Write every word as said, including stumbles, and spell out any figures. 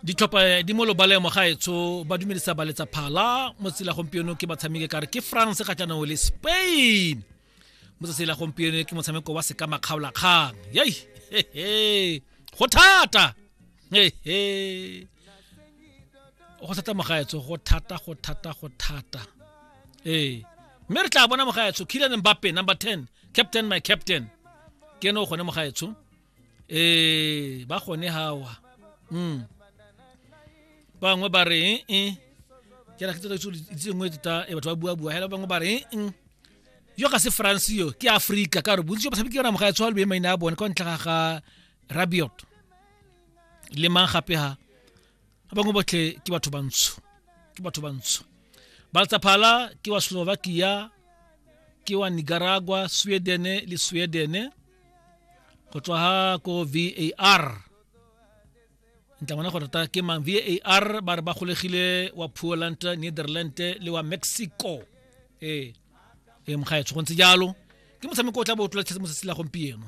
Ditlhopha di mo lobaleng, mogaetsho, ba dumedisa ba letsa phala mo tsela. Gompieno ke batshameki kare ke France kgatlhanong le Spain. Mo tsatsi la gompieno ke motshameko wa sekamakgaolakgang. Yei, go thata, go thata, mogaetsho, go thata, go thata, go thata. Ee, mme re tla bona, mogaetsho, Kylian Mbappe, number ten, captain, my captain, ke ene o gone, mogaetsho. Ee, ba gone hawa. mm bangwe ba re e ke ra ke tsela itse nngwe tota e batho ba bua bua hela. Bangwe ba re e yo ga se France, yo ke Africa, ka gore bontsi jo batshameki ba mogaetsho ba le maina a bone kwa ntle ga ga Rabiot le mang gape ha ba bangwe botlhe ke batho bantsho, ke batho bantsho. Baltsaphala ke wa Slovakia, ke wa Nicaragua, Sweden le Sweden go tswa ha ko V A R. Ntla bona gore tota ke mang. V A R ba re ba golegile wa Poland, Netherland le wa Mexico. Ee, ee, mogaetsho, go ntse jalo. Ke motshameko o tla bo o tlola mo tsatsi la gompieno.